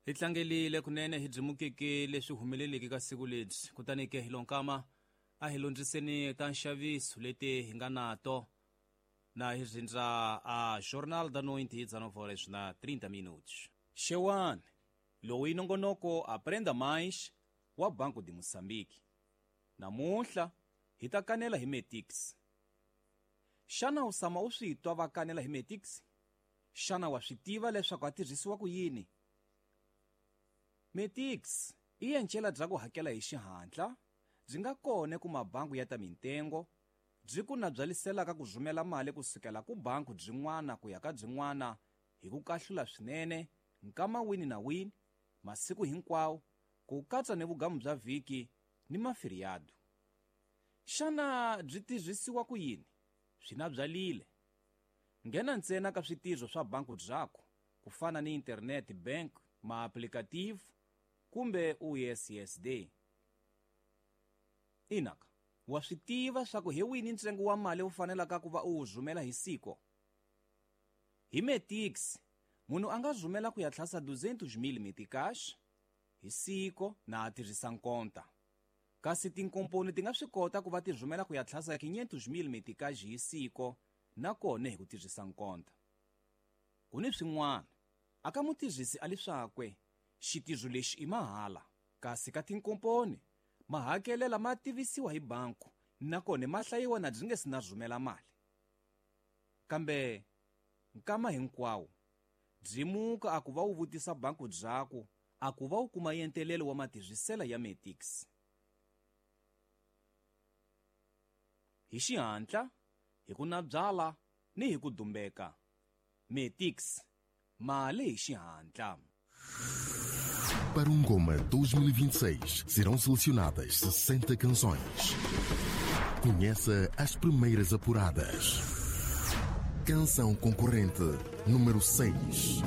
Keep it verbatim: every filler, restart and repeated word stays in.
Hi tlangelile kunene hi byi leswi humeleleke ka siku lebyi. Kutani ke hi lonkama a hi londziseni ta nxaviso leti hi nga nato na hi rindza a Jornal da Noite dezenove horas na trinta minutos. Xewani, lowu i nongonoko Aprenda Mais wa Banco de Moçambique. Namuntlha hi ta kanela hi Metix. Xana u tshama u swi twa va kanela hi Metix? Xana wa swi tiva leswaku a tirhisiwa ku yini? Metix i encela bya ku hakela hi xihatla, byi nga kona ku mabangu ya ta mintengo, byi ku na byaliselaka ku rhumela mali kusukela ku banku byin'wana ku ya ka byin'wana hi ku kahlula swinene nkama wini na wini, masiku hinkwawo, ku katsa ni vugamu bya vhiki ni maferiado. Xana byi tirhisiwa ku yini? Swi na byalile. Nghena ntsena ka switirho swa banku byakho, ku fana ni internet bank, maaplikativu kumbe U S S D. Inaka, wa swi tiva swa ku hi wini ntsengo wa mali wu fanelaka ku va u wu rhumela hi siko? Hi Metix, munhu a nga rhumela ku ya tlhasa duzentos mil meticais hi siko na a tirhisa nkonta. Kasi tinkomponi ti nga swi kota ku va ti rhumela ku ya tlhasa quinhentos mil meticais hi siko na kona hi ku tirhisa nkonta. Ku ni swin'wana, a ka mutirhisi a leswakwe xitirho lexi i mahala, kasi ka tinkomponi mahakelela ma tivisiwa hi banku nakona ma hlayiwa na byi nge si na rhumela mali. Kambe nkama hinkwawo byi muka a ku va wu vutisa banku byaku a ku va wu kuma yentelelo wa matirhisela ya Metix. Hi xihatla, hi ku na byala ni hi ku dumbeka. Metix, mali hi xihatla. Para o Ngoma dois mil e vinte e seis serão selecionadas sessenta canções. Conheça as primeiras apuradas. Canção concorrente número seis.